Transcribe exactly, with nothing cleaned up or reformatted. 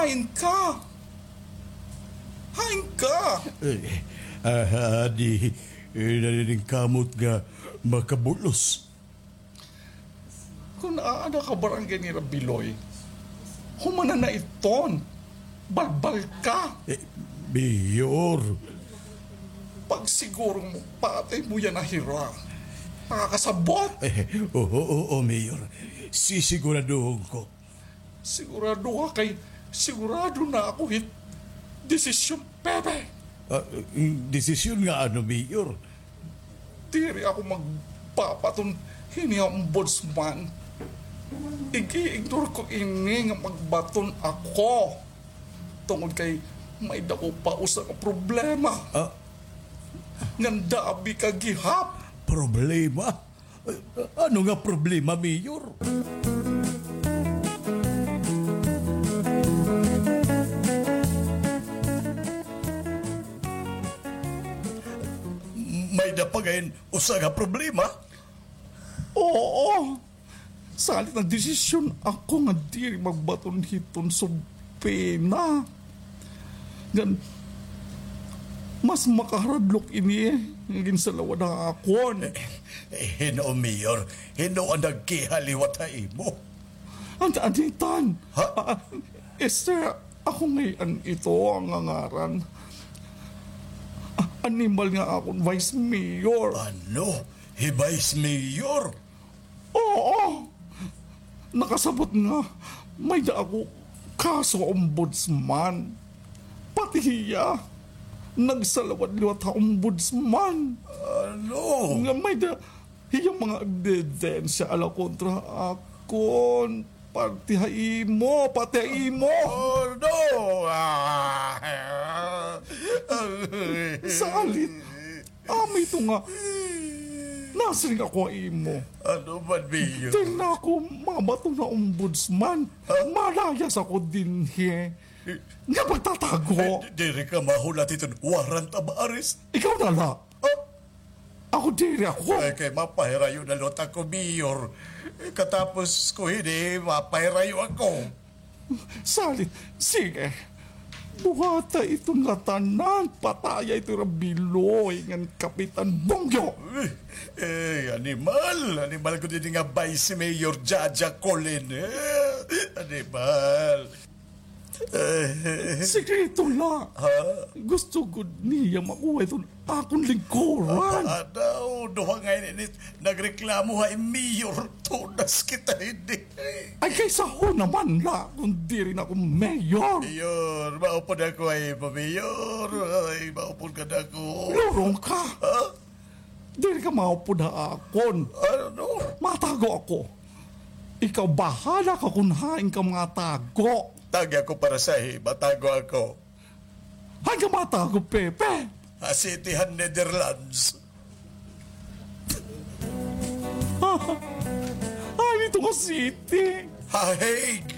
Hain ka? Hain ka? Eh, ah, di, eh, naniningkamot nga makabulos. Kun aada ka barangay ni Rabiloy, humana na iton. Balbal ka. Eh, Mayor. Pagsiguro mo, patay mo yana hira. Nakakasabot. Eh, oo, oo, Mayor. Sisiguraduhon ko. Sigurado ka kay sigurado na ako hit desisyon, Pepe. Ah, desisyon nga ano, Mayor? Diri ako magbabaton hini ha ombudsman. Ig-ignore ko ini nga magbaton ako. Tungod kay may dako pa usa ka problema. Ah? Nga dabi ka gihap. Problema? Ano nga problema, Mayor? May da pa ngay-an usa nga problema? Oo. Salit nagdesisyon ako nga diri magbaton hiton subpina. Ngan, mas makaharadlok ini nga ginsalawad ha akon. Eh, eh, hin-o, Mayor? Hin-o an nagkiha liwat ha imo? An, an Ethan. Ha? Ah, Esther, ako ngay-an ito an ngaran. Ah, animal nga akon vice mayor. Ano? Hi vice mayor? Oo. Nakasabot nga may da ako kaso ha ombudsman. Pati hiya nagsalawad liwat ha ombudsman. Ano? Nga may da hiya mga ebidensya ala kontra ha akon. Pati ha imo, pati ha imo. Oh, no! Ah. Salit, amo ito nga nasiring ako ha imo. Ano man, Mayor? Diri na ako mabaton ha ombudsman. Ha? Malayas ako dinhi. Nga pagtatago. Eh, di-, diri ka mahulat hiton warrant of arrest? Ikaw na la. Ha? Ako diri ako. Ay, kay mapahirayo na liwat ako, Mayor. Katapos ko hini, mapahirayo ako. Salit, sige. Buhata iton ngatanan, pataya ito Rabiloy ngan Kapitan Bongyo. Eh, eh, animal, animal gud ini nga Vice Mayor Jaja Colin. Eh, animal. Eh. Sikreto la. Ha? Gusto gud niya makuha iton akon lingkuran. Ah, daw, duha nga ini nagreklamo ha mayor, tunas kita hini. Ay, kay saho naman la kon diri na ako mayor. Mayor, maupod ako ay pa mayor. Ay, maupod ka na ako. Lurong ka. Ha? Diri ka maupod ha akon. Ano? Matago ako. Ikaw, bahala ka kon hain ka matago. Tagi ako para sa hi, matago ako. Hain ka matago, Pepe? Ha City han Netherlands. Hain ito nga city? Ha Hague.